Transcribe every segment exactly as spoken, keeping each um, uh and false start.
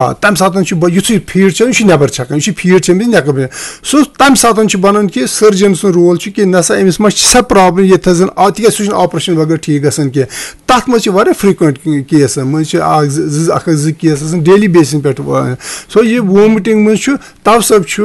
آ، تَمہِ ساتہٕ چھُ بہٕ یُتھُے فیٖڈ چھَکان، یہِ چھُ نٮ۪بَر چھَکان، یہِ چھُ فیٖڈ چھَکان، یہِ چھُ نٮ۪بَر چھَکان۔ سُہ تَمہِ ساتہٕ چھُ بَنان کہِ سٔرجَن سُنٛد رول چھُ کہِ نہ سا أمِس ما چھِ سۄ پرٛابلِم ییٚتہِ تھَس زَن آ، تِکیٛازِ سُہ چھُنہٕ آپریشَن بغٲر ٹھیٖک گژھان کینٛہہ۔ تَتھ منٛز چھِ واریاہ frequent caseَن منٛز چھِ اَکھ زٕ، زٕ، اَکھ زٕ case آسان daily basis پٮ۪ٹھ۔ سو یہِ وومٹِنٛگ منٛز چھُ، تَوٕ سبب چھُ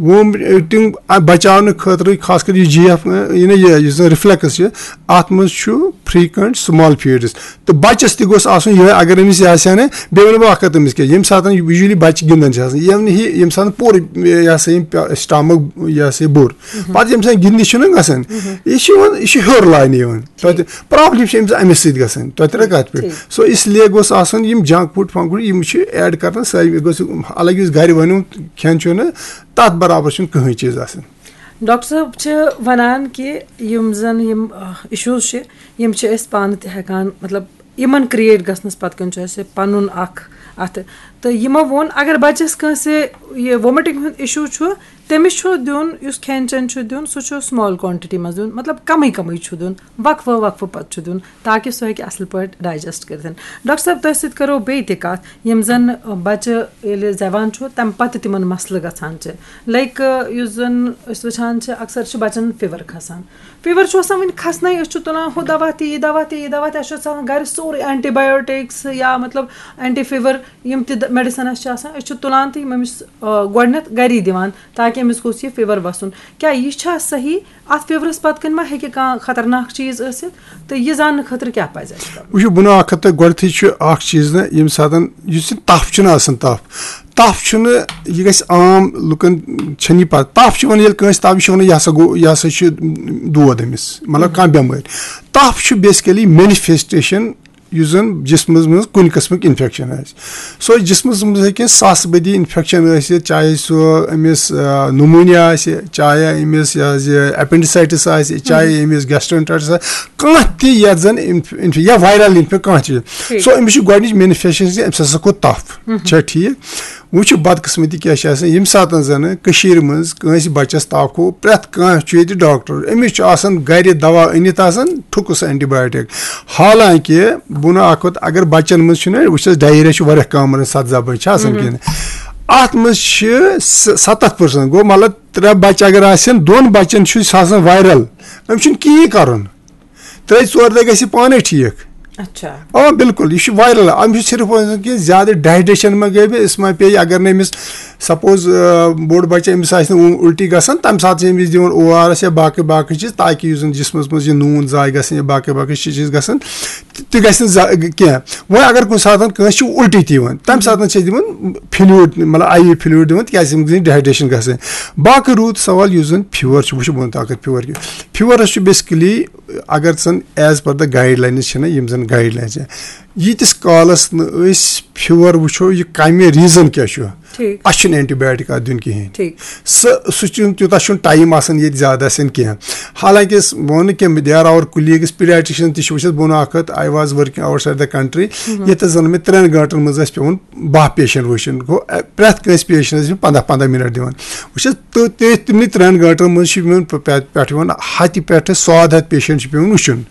وومٹِنٛگ بَچاونہٕ خٲطرٕ، خاص کر یہِ جی ایف، یہِ نہ یہِ، یُس زَن reflex چھِ، اَتھ منٛز چھُ frequent small feeds۔ تہٕ بَچَس تہِ گوٚژھ آسُن یِہوٚے، اگر أمِس یہِ آسہِ ہا نہٕ، بیٚیہِ وَنہٕ بہٕ اَکھ کَتھ أمِس کیٛاہ، ییٚمہِ ساتہٕ یہِ usually بَچہٕ گِنٛدان چھِ آسان، یِم نہٕ یہِ، ییٚمہِ ساتہٕ پوٗرٕ یہِ ہسا یِم stomach یہِ ہسا یہِ بوٚر، پَتہٕ ییٚمہِ ساتہٕ گِنٛدنہِ چھُنہٕ گژھان، یہِ چھُ یِوان، یہِ چھُ ہیوٚر لاینہٕ یِوان۔ تۄہہِ تہِ پرٛابلِم چھِ أمِس اَمہِ سۭتۍ گژھان، تۄہہِ ترٛٲو کَتھ پٮ۪ٹھ۔ ٹھیٖک۔ سو اس لیے گوٚژھ آسُن یِم junk food فنٛک فوڈ، یِم چھِ add کَرنَس سٲری، یہِ گوٚژھ الگ یُس گَرِ بَنیومُت کھٮ۪ن چھُ نہٕ، تَتھ برابر چھُنہٕ کٕہٕنۍ چیٖز آسان۔ ڈاکٹر صٲب چھِ وَنان کہِ یِم زَن یِم، آ، issues چھِ، یِم چھِ أسۍ پانہٕ تہِ ہٮ۪کان، مطلب، یِمَن create گژھنَس پَتہٕ کَنۍ چھُ اَسہِ پَنُن اَکھ اَتھٕ۔ تہٕ یِمو ووٚن، اگر بَچَس کٲنٛسہِ یہِ vomiting ہُنٛد issue چھُ، تٔمِس چھُ دیُن، یُس کھٮ۪ن چٮ۪ن چھُ دیُن، سُہ چھُ small quantity منٛز دیُن، مطلب، کَمٕے کَمٕے چھُ دیُن، وقفہٕ وقفہٕ پَتہٕ چھُ دیُن، تاکہِ سُہ ہیٚکہِ اَصٕل پٲٹھۍ digest کٔرِتھ۔ ڈاکٹر صٲب، تۄہہِ سۭتۍ کَرو بیٚیہِ تہِ کَتھ، یِم زَن بَچہٕ ییٚلہِ زٮ۪وان چھُ، تَمہِ پَتہٕ تِمَن مسلہٕ گژھان چھِ۔ Like، یُس زَن أسۍ وٕچھان چھِ، اکثر چھُ بَچَن fever کھسان۔ Fever چھُ آسان وٕنہِ کھسنَے، أسۍ چھِ تُلان ہُہ دَوا تہِ، یہِ دَوا تہِ، یہِ دَوا تہِ، اَسہِ چھُ آسان گَرِ سورُے antibiotics یا، مطلب، anti fever، یِم تہِ د-، medicine اَسہِ چھِ آسان، أسۍ چھِ تُلان تہٕ یِم أمِس، آ، گۄڈٕنٮ۪تھ گَری دِوان، تاکہِ أمِس گوٚژھ یہِ fever وَسُن۔ کیٛاہ یہِ چھا صحیح؟ اَتھ feverس پَتہٕ کَنۍ ما ہیٚکہِ کانٛہہ خطرناک چیٖز ٲسِتھ؟ تہٕ یہِ زاننہٕ خٲطرٕ کیٛاہ پَزِ اَسہِ کَرُن؟ وٕچھِو، بہٕ وَنو اَکھ کَتھ تۄہہِ، گۄڈٕنٮ۪تھٕے چھُ اَکھ چیٖز نہ، ییٚمہِ ساتَن، یُس یہِ تَپھ چھُنہٕ آسان، تَپھ، تَپھ چھُنہٕ، یہِ گژھِ عام لُکَن چھَنہٕ یہِ پَتہ۔ تَپھ چھُ وَنان ییٚلہِ کٲنٛسہِ تَپھ، یہِ چھُ وَنان یہِ ہسا گوٚو، یہِ ہسا چھُ دود أمِس، مطلب کانٛہہ بٮ۪مٲرۍ۔ تَپھ چھُ basically manifestation یُس زَن جسمَس منٛز کُنہِ قٕسمٕک infection آسہِ۔ سُہ جسمَس منٛز ہیٚکہِ ساسہٕ بٔدی infection ٲسِتھ، چاہے سُہ أمِس، آ، pneumonia آسہِ، چاہے أمِس یہِ حظ یہِ appendicitis آسہِ، چاہے أمِس gastroenteritis آسہِ، کانٛہہ تہِ یَتھ زَن inf-، inf-، یا viral infection کانٛہہ چیٖز۔ ٹھیٖک۔ سو أمِس چھِ گۄڈٕنِچ manifestation زِ أمِس ہسا گوٚو تَپھ۔ چھا ٹھیٖک؟ وۄنۍ چھِ بدقٕسمتی کیٛاہ چھِ آسان، ییٚمہِ ساتہٕ زَنہٕ کٔشیٖرِ منٛز کٲنٛسہِ بَچَس تَپھ گوٚو، پرٛٮ۪تھ کانٛہہ چھُ ییٚتہِ ڈاکٹر، أمِس چھُ آسان گَرِ دَوا أنِتھ آسان، ٹھُکُس antibiotic۔ حالانکہِ بہٕ وَنہٕ اَکھ کَتھ، اگر بَچَن منٛز چھُنہ، وٕچھ حظ، diarrhea چھُ واریاہ common، سَتھ زَبٲنۍ چھِ آسان کِنہٕ؟ اَتھ منٛز چھِ س-، سَتَتھ percent، گوٚو مطلب ترٛےٚ بَچہِ اگر آسن، دۄن بَچَن چھُ سُہ آسان viral، أمِس چھُنہٕ کِہیٖنۍ کَرُن۔ ترٛےٚ ژور دۄہ گژھِ پانَے ٹھیٖک۔ اچھا۔ آ، بِلکُل، یہِ چھُ viral۔ أمِس چھُ صرف وَنان کہِ زیادٕ digestion ما گٔے، أمِس ما پیٚیہِ، اگر نہٕ أمِس suppose، آ، بوٚڑ بَچہٕ، أمِس آسہِ نہٕ اُ-، اُلٹی گژھان، تَمہِ ساتہٕ چھِ أمِس دِوان او آر ایس یا باقٕے باقٕے چیٖز، تاکہِ یُس زَن جسمَس منٛز یہِ نوٗن ضایع گژھِ یا باقٕے باقٕے چیٖز گژھن، تہِ، تہِ گژھِ نہٕ زا-، کینٛہہ۔ وۄنۍ اگر کُنہِ ساتہٕ کٲنٛسہِ چھِ اُلٹی تہِ یِوان، تَمہِ ساتہٕ چھِ أسۍ دِوان fluid، مطلب آئی وی fluid دِوان، تِکیٛازِ أمِس گژھِ digestion گژھٕنۍ۔ باقٕے روٗد سوال یُس زَن fever چھُ، وٕچھِو بہٕ وَنہٕ تۄہہِ اَکھ کَتھ، fever کیُتھ۔ Feverس چھُ basically اگر زَن as per the guidelines چھِنہ، یِم زَن guidelines چھِ، ییٖتِس کالَس نہٕ أسۍ fever وٕچھو، یہِ کَمہِ reason کیٛاہ چھُ، ٹھیٖک۔ اَسہِ چھُنہٕ antibiotic اَتھ دیُن کِہیٖنۍ۔ ٹھیٖک۔ سُہ، سُہ چھُنہٕ، تیوٗتاہ چھُنہٕ time آسان ییٚتہِ زیادٕ آسان کینٛہہ۔ حالانکہِ أسۍ، بہٕ وَنہٕ کینٛہہ، there are our colleagues pediatricians تہِ چھِ، وٕچھ حظ، بہٕ وَنہٕ اَکھ کَتھ، I was working outside the country، ییٚتہِ زَن مےٚ ترٛٮ۪ن گٲنٛٹَن منٛز ٲسۍ پٮ۪وان باہ patient وٕچھِنۍ۔ گوٚو، اَ، پرٛٮ۪تھ کٲنٛسہِ patientس چھِ پنٛداہ پنٛداہ minute دِوان۔ وٕچھ حظ، تہٕ تہِ تِمنٕے ترٛٮ۪ن گٲنٛٹَن منٛز چھِ یِمَن پہ-، پہ-، پٮ۪ٹھ یِوان ہَتہِ پٮ۪ٹھٕ ساد ہَتھ patient چھِ پٮ۪وان وٕچھُن۔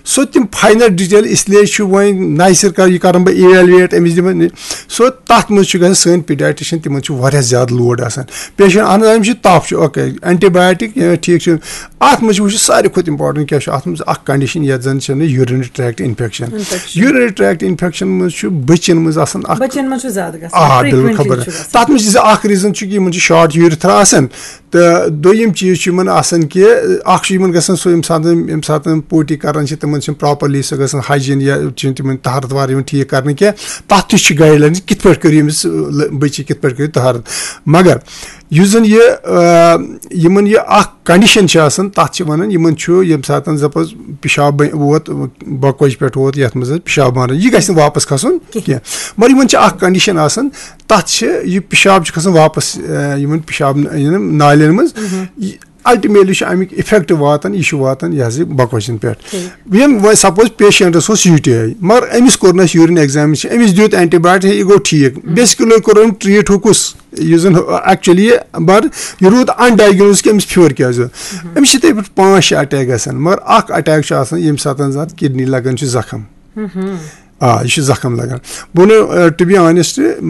سو تِم final detail، اس لیے چھُ وۄنۍ نَیہِ سَرٕ کَرٕ یہِ کَرَن بہٕ evaluate، أمِس دِمَن یہِ۔ سو تَتھ منٛز چھُ گژھان سٲنۍ pediatrician، تِمَن چھُ واریاہ زیادٕ load آسان۔ Patient، اہن حظ، أمِس چھُ تَپھ چھُ، okay، antibiotic، یہِ ٹھیٖک چھُ۔ اَتھ منٛز چھُ وٕچھُن ساروی کھۄتہٕ important کیٛاہ چھُ، اَتھ منٛز اَکھ condition یَتھ زَن چھِ وَنان urinary tract infection۔ Infection۔ Urinary tract infection منٛز چھُ بٔچِیَن منٛز آسان اَکھ بَچَن منٛز چھُ زیادٕ گژھان، آ، frequently بِلکُل، خبر۔ چھُ گژھان۔ تَتھ منٛز چھِ زٕ، اَکھ reason چھُ کہِ یِمَن چھُ short urethra آسان، تہٕ دوٚیِم چیٖز چھُ یِمَن آسان کہِ اَکھ چھُ یِمَن گژھان سُہ، ییٚمہِ ساتہٕ، ییٚمہِ ساتہٕ potty کَران چھِ، تِمَن چھِنہٕ properly سۄ گژھان hygiene یا چھِنہٕ تِمَن طہارت وار یِوان ٹھیٖک کَرنہٕ کینٛہہ۔ تَتھ تہِ چھِ guidelines کِتھ پٲٹھۍ کٔرِو أمِس، لٔ-، بٔچی کِتھ پٲٹھۍ کٔرِو طہارت۔ مگر یُس زَن یہِ، آ، یِمَن یہِ اَکھ condition چھِ آسان، تَتھ چھِ وَنان، یِمَن چھُ ییٚمہِ ساتہٕ suppose پِشاب بَ-، ووت، بۄکوَچہِ پٮ۪ٹھ ووت، یَتھ منٛز حظ پِشاب بانَس، یہِ گژھِ نہٕ واپَس کھَسُن کینٛہہ۔ کینٛہہ۔ مگر یِمَن چھِ اَکھ condition آسان، تَتھ چھِ یہِ پِشاب چھُ کھَسان واپَس، آ، یِمَن پِشاب ن-، یِمَن نالٮ۪ن منٛز۔ یہِ ultimately چھُ اَمیُک effect واتان، یہِ چھُ واتان یہِ حظ یہِ بۄکوَچَن پٮ۪ٹھ۔ ٹھیٖک۔ یِم وۄنۍ suppose patientس اوس UTI، مگر أمِس کوٚر نہٕ اَسہِ urine examination، أمِس دیُت antibiotic، یہِ گوٚو ٹھیٖک۔ Basically کوٚر أمۍ treat ہُہ کُس، یُس زَن actually یہِ، مگر یہِ روٗد undiagnosed کہِ أمِس fever کیٛازِ گوٚو۔ أمِس چھِ تِتھَے پٲٹھۍ پانٛژھ شےٚ attack گژھان، مگر اَکھ attack چھُ آسان ییٚمہِ ساتہٕ زَن اَتھ kidney لَگان چھُ زَخم۔ آ، یہِ چھُ زَخم لَگان۔ بہٕ وَنہٕ، آ، to be honest،